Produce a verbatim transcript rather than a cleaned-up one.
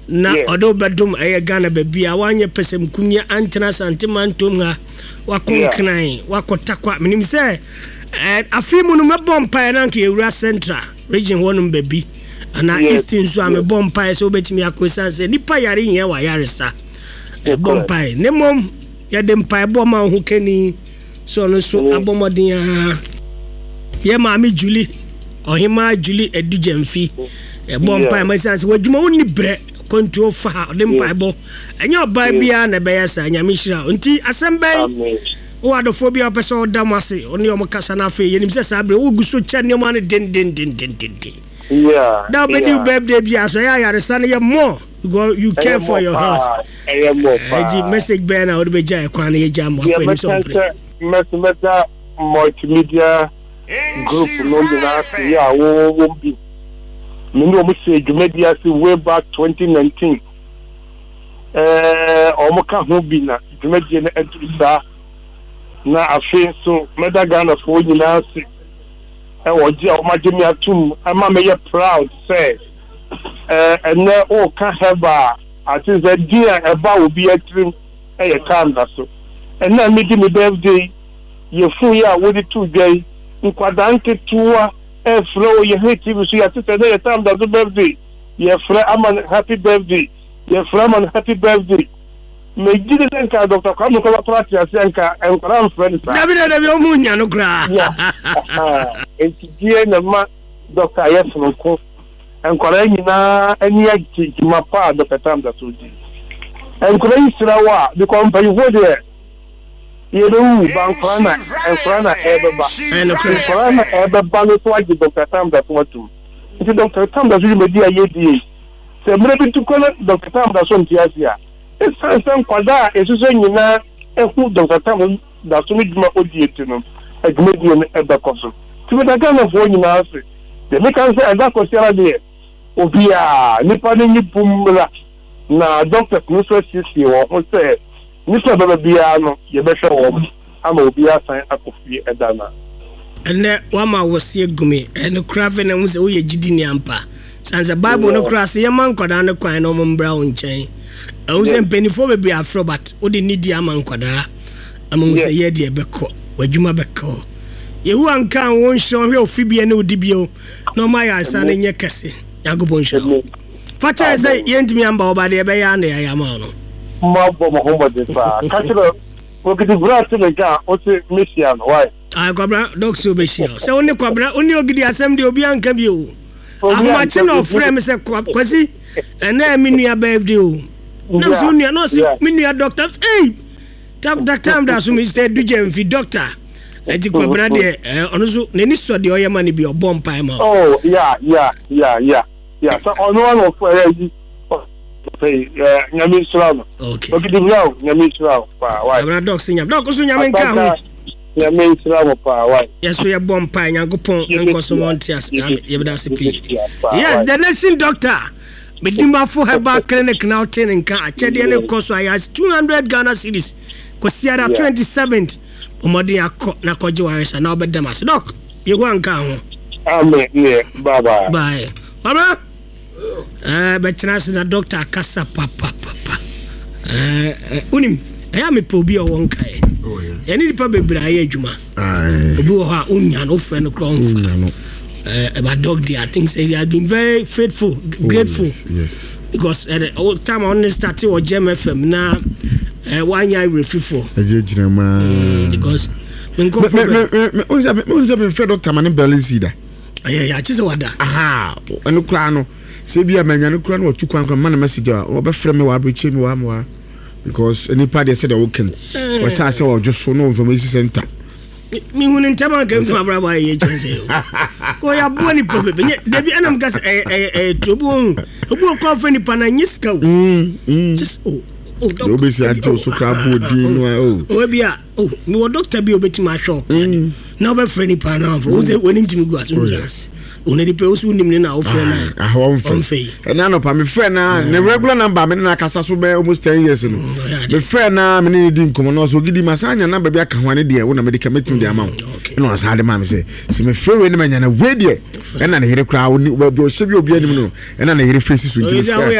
Na ɔde wo bɛdom ɛyɛ Ghana baabi a woanyɛ pɛsɛmkunya antena Asante mantom ha, wakɔ Nkran, wakɔ Takwa. Menim sɛ afe mu no mɛbɔ mpaeɛ na anka yɛwura Central Region hɔnom baabi anaa East nso a, mebɔ mpaeɛ sɛ wobɛtumi akɔ, ɛsiane sɛ nnipa yare hia w'ayaresa. Ɛbɔ mpaeɛ ne mmom yɛde mpaebɔ ma wo ho kani sɛ ɔno nso abɔ mmɔden a yɛ Maame Julie, Ɔhemaa Julie Adu Gyamfi, ɛbɔ mpaeɛ ma ɛsiane sɛ w'adwuma wonni berɛ kwantuo fa ha, ɔde mpaebɔ ɛnyɛ ɔbaa biara na ɛbɛyɛ saa. Nyame hyira wo. Nti asɛm bɛn wowɔ adɔfoɔ bi a wopɛ sɛ ɔda mo ase, ɔne ɔmo kasa no? Afei yɛnim sɛ saa berɛ wogu so kyɛ nneɔma no dendendendendenden da wobɛdi wo birthday bi a so ɛyɛ ayaresa no yɛ more because you care for your health. Ɛnti message bɛn na wode bɛgya ɛkwan no yɛgya mo akɔ anim sɛ ɔmpere? Mɛsɛ mɛda Multimedia Group no nyinaa ase yɛ a wɔwɔ bi me ne wɔn hyɛ dwumadi ase way back twenty nineteen. ɛɛ wɔn ka ho bi na dwumadie no aduru saa. Na afei nso mɛda Ghanafoɔ nyinaa ase ɛwɔ gye a wɔn agye me atum ama mɛyɛ proud sɛ ɛɛ ɛnɛ ɔɔka herbal a ate sɛ din a ɛba obi atirim ɛyɛ time da so. Ɛnna mi di mi birthday yɛfu yi a wɔde tu dwa yi, nkwadaa nketewa ɛfrɛ wɔ yɛn T V so, yɛate sɛ ɛnɛ yɛ time da so birthday, yɛfrɛ ama no happy birthday, yɛfrɛ ama no happy birthday. Megye de sɛ nka Doctor Kwame Nkrumah kora te ase, nka nkwadaa mfrɛ no saa. Dabi, dabi, ɔmu nya no koraa. Nti deɛ na ma doctor ayɛ sononko, nkwadaa nyinaa ani agye dwuma pa a Doctor Tam da so di. Nkwadaa yi srɛ wɔ a, because mpanyinfoɔ deɛ yɛbɛwu ba, nkwadaa na nkwadaa na ɛbɛba, nkwadaa na ɛbɛba no so agye Doctor Tam da so atum. Nti Doctor Tam da so dwumadi a yɛdie yi, sɛ mmerɛ bi tu kɔ na Doctor Tam da so nte ase a, ɛsiane sɛ nkwadaa a ɛsusɔ nyinaa ɛho Doctor Tam da so no dwuma odie ti no, adwumadie no ɛbɛkɔ so. Nti meda Ghanafoɔ nyinaa ase. Deɛ meka sɛ ɛda kɔsiara deɛ, obiaa nipa no nye bum mmra na doctors no nso asiesie wɔn ho sɛ nipa bɛba biara no, yɛbɛhwɛ wɔn ama obiara san akɔ fie ɛda na. Ɛnɛ wama wɔseɛ gumi ɛno kora. Afei na hu sɛ woyɛ gyidi ni ampa, sane sɛ Bible no kora sɛ yɛma nkwadaa no kwan na ɔmo mbra wo nkyɛn. Ɛhu sɛ mpanimfoɔ bebree afrɛ, but wode nidi ama nkwadaa ama hu sɛ yɛ deɛ bɛkɔ w'adwuma bɛkɔ. Yehowa nka wo nhyira, ɔhwɛ ofi bia ne wodi bio na ɔma ayaresa no nyɛ kɛse. Nyankopɔn nhyira wo. Fa kyerɛ sɛ yɛntumi amba wo ba deɛ, ɛbɛyɛ a na yɛayɛ ama wo no. Mabɔ mo ho mmɔden paa. Ka kyerɛ Ogidi bra te me nka a wote mehyia no wae. Ah, Kwabra Doc sɛ wobɛhyia wo sɛ wo ne Kwabra, wo ne Ogidi asɛm deɛ obi anka bi o. Ahomakye na ɔfrɛ me sɛ, "Kwasi, ɛnɛ me nua birthday o." Nam sɛ wo nua na ɔse me nua doctor. Ei, time da so Mister Dugya doctor. Nti Kwabra deɛ, ɔno nso n'ani sɔ deɛ ɔyɛ ma no bi, ɔbɔ mpae ma. Oh yeah yeah yeah yeah yeah sɛ ɔno ano ɔfɔ ɛyɛ yi ɔfɛ, Nyame nhyira no. Okay. Ogidi bra o, Nyame nhyira o paa wae. Kwabra Doc sɛ Nyame Doc so Nyame nka ho. Nyame nhyira mo paa wae. Yɛso yɛbɔ mpae, Nyankopɔn nkɔ so wɔnte ase. Yɛbɛda ase pii. Yes, the nation doctor, Medimafo Herbal Clinic na wote ne nka. Akyɛdeɛ ne kɔ so ayɛ two hundred Ghana cedis Kwasiada twenty-seventh. Ɔmmɔden akɔ na kɔgye wayɛsa na wobɛdam ase. Doc, Yehowa nka ho. Amen. Yeah, bye bye. Bye baba. ɛɛ bɛtena ase na doctor akasa papapapa. ɛɛ wonim ɛyɛ a mepɛ obi a ɔwɔ nkaeɛ. Yɛne nipa bebree ayɛ adwuma. Obi wɔ hɔ a wonya no, wofrɛ no korɔ ɔmfa. Ɛba doc deɛ, I think say he has been very faithful, grateful. Oh, yes, yes. Because uh, time a ɔne start wɔ Gem F M na uh, wanya awerɛfifoɔ. Ɛgye gyina mu. Because nkɔfo bɛ sɛ memfrɛ doctor ma ne bɛle si da. Ɛyɛ yɛakye sɛ wada. Aha, ɛno koraa no, sɛ bi a manya no koraa no, watu kwan koraa ma no message a, wɔbɛfrɛ me wɔ aberɛkyɛ mi wɔ amoa, because nipa deɛ, sɛdeɛ woka no, wɔhyɛ sɛ ɔdwo so na information center. Mehu ne ntɛm anka mfim abrabɔ ayɛ kyɛn sɛ kɔ yɛaboa nipa bebe nyɛ dabi. Ɛnam ka sɛ ɛyɛ ɛyɛ ɛyɛ turo bi wɔn obi wɔ kɔ afɛ nipa na nye sika o. Just o o Deɛ wobɛsi agye wo so koraa bɔ odin no a o. O bi a o mewɔ doctor bi a obɛtumi ahwɛ wo na wobɛfrɛ nipa no amfo wo sɛ w'anim tumi gu ase. Oh, ɔno nipa wo so wonim ne na wofrɛ no a ɔmfɛ yi. Ɛne anɔpa mefrɛ na ne regular number me ne no akasa so bɛyɛ almost ten years no, mefrɛ na me ne ne di nkɔmmɔ na ɔsɛ, "Ogidi, ma saa nya number bi aka ho a ne deɛ wo na mede ka mɛtumi de ama wo." Ɛna ɔsan de ma me sɛ sɛ mefrɛ wei ne manya na wei deɛ, ɛna ne yere koraa baabi ɔhyɛ bi obi anim no, ɛna ne yere fɛsi so, nti mefrɛ.